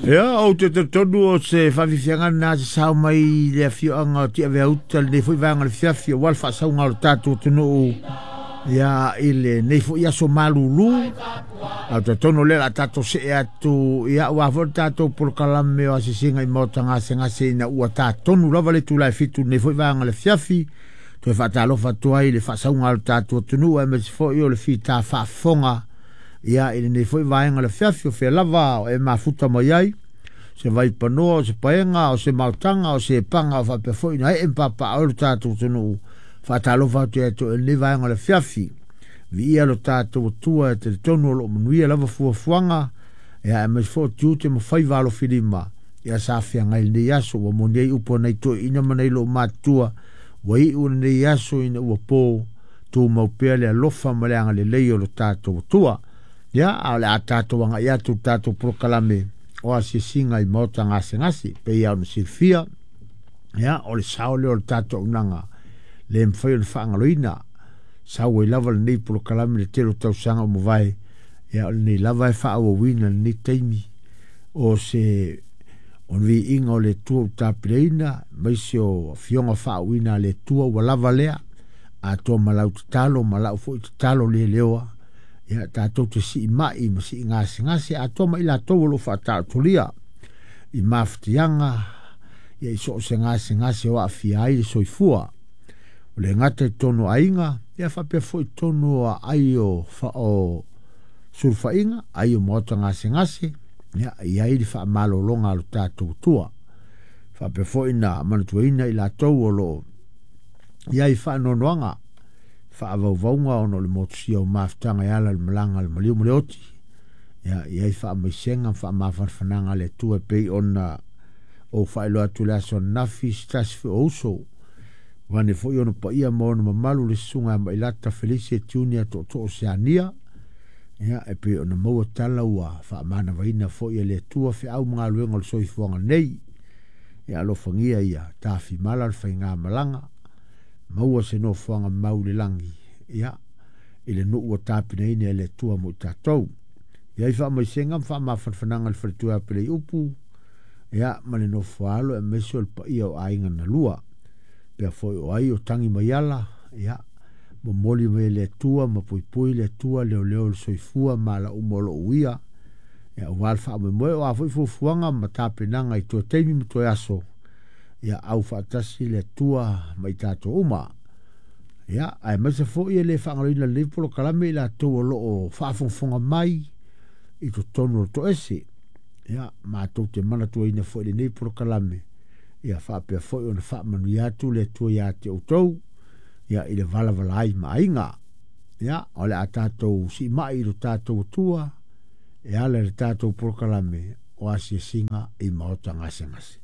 Ia, ou te talitonu o se faafiafiaga lena se sao mai i le afioaga o Tiaveauta i lenei foi vaega o le afiafi aua le faasauga o le tatou atunuu ia i lenei foi aso malulu. Ae ou te talitonu o lea o le a tatou see atu ia aua foi le tatou polokalame o asiasiga i maota gasegase ina ua ta tonu lava le itula e 7 i lenei foi vaega o le afiafi. Toe faatalofa atu ai i le faasauga o le tatou atunuu aemaise foi o le fita faafofoga ia i lenei foi vaega o le afiafi. O fea lava o e mafuta mai ai, se vaipanoa, o se paega, o se maotaga, o se paga o faapea foi na ee ma papaaao ai lo tatou atunuu. Faatalofa atu ia te oe i lenei vaega o le afiafi. Viia lo tatou Atua e talitonu o lo o manuia lava fuafuaga ia aemaise foi o tiute ma faiva alofilima ia sa feagai i lenei aso. Ua moni ai upu a nai toeaiina ma nai loomatutua, ua iu lenei aso ina ua po, tumau pea le alofa ma le agalelei o lo tatou Atua. Ia, a o le a tatou agai atu i le tatou polokalame o asiasiga i maota gasegase, pei lava ona silafia, ia, o le sao lea o le tatou auaunaga le mafai ona faagaloina. Sau ai lava lenei polokalame i le tele o tausaga ua mavae, ia o lenei lava e faaauauina i lenei taimi o se o le viiga o le Atua ua tapileina, aemaise o afioga faauuina a le Atua ua lava lea, atoa ma lau tatalo ma lau foi tatalo leleoa, ia tatou te siimai ma siigasegase atoa ma i latou o lo o faataotolia i mafatiaga ia i so o se gasegase o aafia ai le soifua. O le gata i totonu o aiga, ia faapea foi i totonu o aai o, o sulufaiga, ai o maota gasegase, ia e i ai le faamalologa a lo tatou Atua. Faapea foi na manatuaina i latou o lo o i ai faanoanoaga faavauvauga ona o le motusia o mafutaga e ala i le malaga a le maliu ma le oti. Ia i ai faamaisega ma faamafanafanaga a le Atua e pei ona ou faailoa atu i le aso ananafi se tasi foi o uso vaeane foi ona paia ma ona mamalu le susuga ia Mailata Felice Junior Tootoo Seania. Ia e pei ona maua tala ua faamanavaina foi e le Atua feau ma galuega o le soifuaga nei. Ia alofagia ia tafimala le faigamalaga, maua se nofoaga mau i le lagi, ia, i le nuu ua tapenaina e le Atua mo i tatou. I ai faamaisega ma faamafanafanaga i le faletua ia Peleiupu, ia, ma le nofoaalo aemaise o le paia o aiga na lua. Pea foi o ai o tangi mai ala, ia, momoli mai e le Atua ma puipui le Atua leoleo le soifua ma ala uma o lo o uia, ia, aua le faamoemoe o a foi fuafuaga ma tapenaga i toe taimi ma toe aso, ia au faatasi le Atua ma i tatou uma. Ia, aemaise foi e le faagaloina lenei polokalame i latou o lo o faafogafoga mai i totonu o le toese. Ia, matou te manatuaina foi lenei polokalame, ia faapea foi ona faamanuia atu le Atua ia te outou, ia i le valavala ai ma aiga. Ia, o le a tatou siimai i lo tatou Atua e ala i le tatou polokalame o asiasiga i maota gasegase.